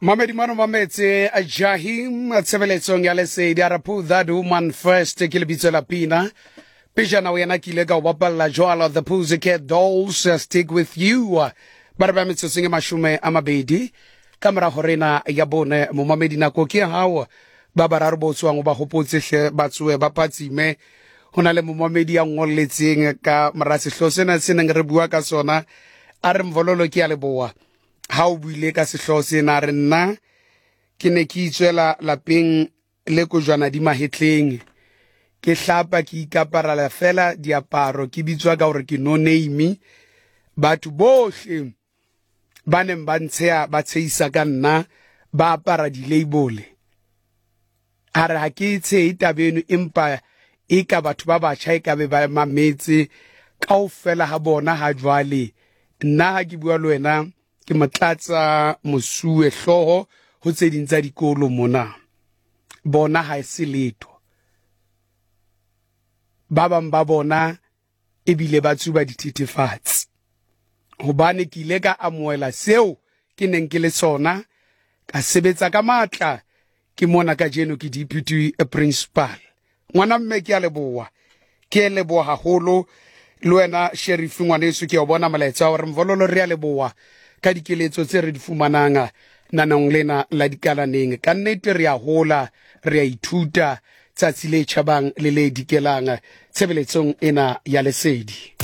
Mamedi mano mametse Jahim tshebeletsong ya lesedi a re put that woman first ke lebitso la pina pejana o yena ke ile ka o bapalla jwalo the Pussycat Dolls stick with you ba re ba metsotsong e mashome a mabedi ka mora horena ya bone momamedi nako ke ya hao ba bararo bo tswang o ba hopotse hle ba tsoe ba phatsime ho na le momamedi ya ngolletseng ka mora sehloho sena se neng re bua ka sona a re mvololo ke ya leboa ha o buile ka sehloho sena re nna ke ne ke itswela lapeng le kojwana di mahetleng ke hlapa ke ikaparela fela diaparo ke bitswa ka gore ke no name batho bohle ba neng ba ntsheya ba tshehisa ka nna ba apara di-label a re ha ke tshehe taba eno empa e ka batho ba batjha e ka be ba mametse kaofela ha bona ha jwale nna ha ke bua le wena ke motlatsa mosuwe hlooho ho tse ding tsa dikolo mona bona ha e se letho ba bang ba bona ebile ba tsuba dithethefatsi hobane ke ile ka amohela seo ke neng ke le sona ka sebetsa ka matla ke mona kajeno ke deputy principal ngwana mme ke a leboa ke leboa haholo le wena sheriff ngwaneso ke o bona molaetsa wa gore mvololo re a leboa ka dikeletso tse re di fumanang nanong lena la dikalaneng ka nnete re a hola re a ithuta tsatsi le tjhabang le le dikelang tshebeletsong ena ya lesedi.